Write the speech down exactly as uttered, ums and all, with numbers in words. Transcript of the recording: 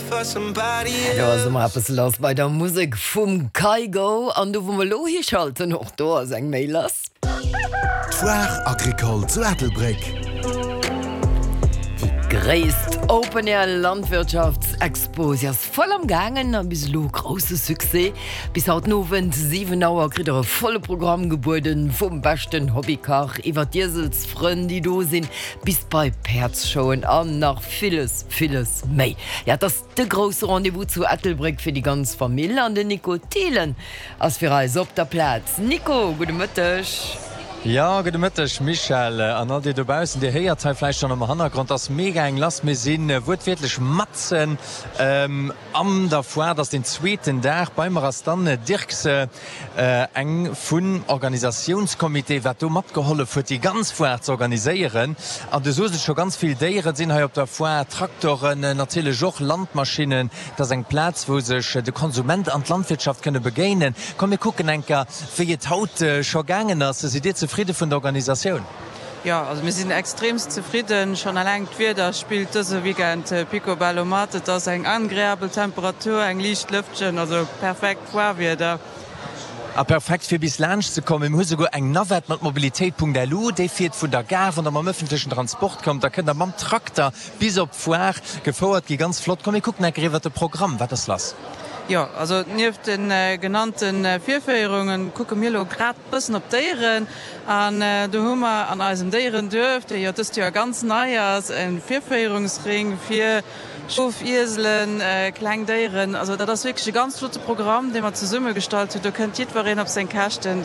for somebody Do ass else. ëmmer eppes lass bei der Musek vum Kygo an do wou mer lo hischalten, och do ass eng Méi lass. D'Foire Agricole zu Ettelbréck. Déi gréisst Open Air Landwirtschaftsexpo, si ass voll am gaangen a bis elo grousse Succès. Bis haut den Owend siwen Auer kritt der e volle Programm gebueden, vum beschten Hobbykach iwwer d'Ieselsfrënn déi do sinn, bis bei Päerdsshowen an nach villes, villes méi. Ja, et ass de grousse Rendez-vous zu Ettelbréck fir déi ganz Famill an den Nico Thielen ass fir eis op der Plaz. Nico, gudde Mëtteg. Jo, gudde Mëtteg Michèle an all dir dobaussen. Dir héiert hei vläicht schonn am Hannergrond, ass mega eng lass. Mir si wuertwiertlech matzen an der Foire. Et ass den zweeten Dag. Bei mer ass d'Anne Dirkse, eng vun Organisatiounscomité, wat do matgehollef huet, déi ganz Foire ze organiséieren. An du soos et scho, ganz vill Déieren sinn hei op der Foire, Traktoren, natierlech och Landmaschinnen. Et ass eng Plaz, wou sech de Konsument an d'Landwirtschaft kënne begéinen. Komm mir kucken enker, wéi et haut scho gaangen ass. Sidd Dir zefridde vun der Organisatioun? Jo, also mir sinn extremst zefridden. Schonn eleng d'Wieder spillt dëse Weekend picobello mat. Et ass eng agreabel Temperatur, eng liicht Lëftchen, also perfekt Foire-Wieder. A perfekt fir bis laanscht ze kommen. Mir hu souguer eng Navette mat Mobilitéit.lu, déi fiert vun der Gare. Wann der mam ëffentlechen Transport kommt, da kënnt der mam Trakter bis op d'Foire gefouert gi. Ganz flott. Komm mir kucken enker iwwert de Programm. Wat ass lass? Jo, also nieft de genannte Virféierungen kucke mir elo grad bëssen op d'Déieren. An do hu mer an eisem Déierenduerf, dee jo dëst Joer ganz nei ass, e Virféierungsring fir Schof, Ieselen, kleng Déieren. Also dat ass wierklech e ganz flotte Programm, dee mer zesummegestallt hunn. Do kënnt jiddwereen op seng Käschten.